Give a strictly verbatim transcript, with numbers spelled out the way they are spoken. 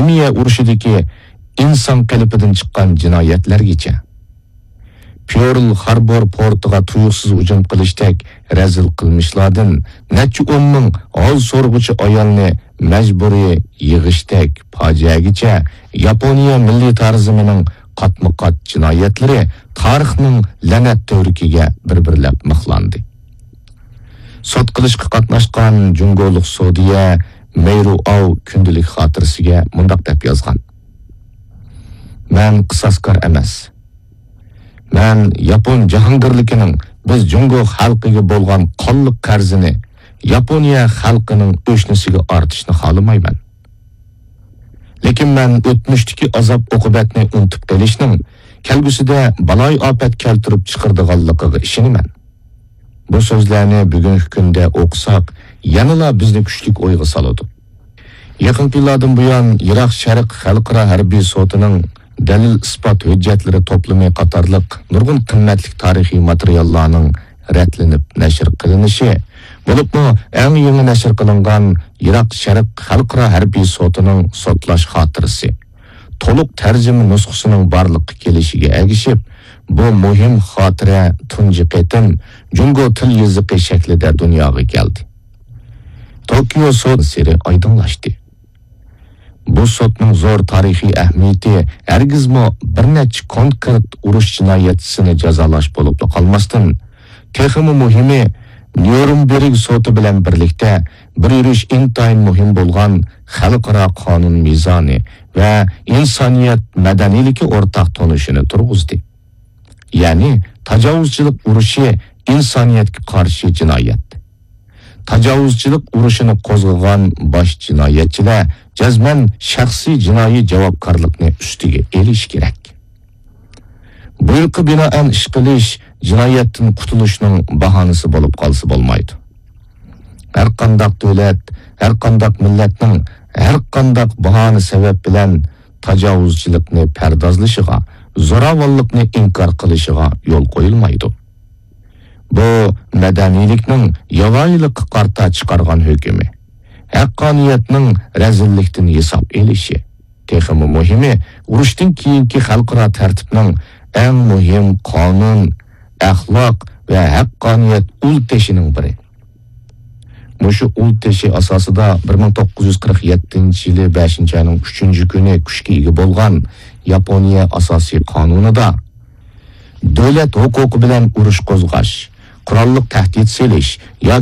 كىمىيە ئۇرۇشىدىكى ئىنسان قېلىپىدىن چىققان جىنايەتلەرگىچە. پېرل خاربور پورتىغا تۇيۇقسىز ھۇجۇم قىلىشتەك رەزىل قىلمىشلاردىن نەچچە ئون مىڭ ھال سورىغۇچى ئايالنى مەجبۇرىي يىغىشتەك پاجىئەگىچە ياپونىيە مىللىي تارىزمىنىڭ قاتمۇ-قات جىنايەتلىرى تارىخنىڭ لەنەت تۈۋرۈكىگە بىر-بىرلەپ مىخلاندى. سوت قىلىشقا قاتناشقان جۇڭگولۇق سودىيە مەيرۇ ئاۋ كۈندىلىك خاتىرىسىگە مۇنداق دەپ يازغان: «مەن قىساسكار ئەمەس. مەن ياپون جاھانگىرلىكىنىڭ بىز جۇڭگو خەلقىگە بولغان قانلىق قەرزىنى ياپونىيە خەلقىنىڭ ئۆشنىسىگە ئارتىشنى خالىمايمەن. لېكىن مەن ئۆتمۈشتىكى ئازاب-ئوقۇبەتنى ئۇنتۇپ قېلىشنىڭ كەلگۈسىدە بالايىئاپەت كەلتۈرۈپ چىقىرىدىغانلىقىغا ئىشىنىمەن.» بۇ سۆزلەرنى بۈگۈنكى كۈندە ئوقۇساق، يەنىلا بىزنى كۈچلۈك ئويغا سالىدۇ. يېقىنقى يىللاردىن بۇيان يىراق شەرق خەلقئارا ھەربىي سوتىنىڭ دەلىل-ئىسپات ھۆججەتلىرى توپلىمى قاتارلىق نۇرغۇن قىممەتلىك تارىخىي ماتېرىياللارنىڭ رەتلىنىپ نەشر قىلىنىشى، بولۇپمۇ ئەڭ يېڭى نەشر قىلىنغان يىراق شەرق خەلقئارا ھەربىي سوتىنىڭ سوتلاش خاتىرىسى، تولۇق تەرجىمە نۇسخىسىنىڭ بارلىققا كېلىشىگە ئەگىشىپ، بۇ مۇھىم خاتىرە تۇنجى قېتىم جۇڭگو تىل يېزىقى شەكلىدە دۇنياغا كەلدى. توكيو سوت سىرى ئايدىڭلاشتى. بۇ سوتنىڭ زور تارىخىي ئەھمىيىتى ھەرگىزمۇ بىر نەچچە كونكرېت ئۇرۇش جىنايەتچىسىنى جازالاش بولۇپلا قالماستىن، تېخىمۇ مۇھىمى، نيۇرنبېرگ سوتى بىلەن بىرلىكتە بىر يۈرۈش ئىنتايىن مۇھىم بولغان خەلقئارا قانۇن مىزانى ۋە ئىنسانىيەت مەدەنىيلىكى ئورتاق تونۇشىنى تۇرغۇزدى. يەنى تاجاۋۇزچىلىق ئۇرۇشى ئىنسانىيەتكە قارشى جىنايەت. تاجاۋۇزچىلىق ئۇرۇشىنى قوزغىغان باش جىنايەتچىلەر جەزمەن شەخسىي جىنايى جاۋابكارلىقنى ئۈستىگە ئېلىشى كېرەك. بۇيرۇققا بىنائەن ئىش قىلىش جىنايەتتىن قۇتۇلۇشنىڭ باھانىسى بولۇپ قالسا بولمايدۇ. ھەرقانداق دۆلەت، ھەرقانداق مىللەتنىڭ ھەرقانداق باھانە سەۋەب بىلەن تاجاۋۇزچىلىقنى پەردازلىشىغا، زوراۋانلىقنى ئىنكار قىلىشىغا يول قويۇلمايدۇ. بۇ مەدەنىيلىكنىڭ ياۋايىلىققا قارىتا چىقارغان ھۆكمى، ھەققانىيەتنىڭ رەزىللىكتىن ھېساب ئېلىشى، تېخىمۇ مۇھىمى، ئۇرۇشتىن كېيىنكى خەلقئارا تەرتىپنىڭ ئەڭ مۇھىم قانۇن، ئەخلاق ۋە ھەققانىيەت ئۇل تېشىنىڭ بىرى. مۇشۇ ئۇل تېشى ئاساسىدا بىر مىڭ توققۇز يۈز قىرىق يەتتىنچى يىلى بەشىنچى ئاينىڭ ئۈچىنچى كۈنى كۈچكە ئىگە بولغان ياپونىيە ئاساسىي قانۇنىدا دۆلەت ھوقۇقى بىلەن ئۇرۇش قوزغاش، قوراللىق تەھدىت سېلىش ياكى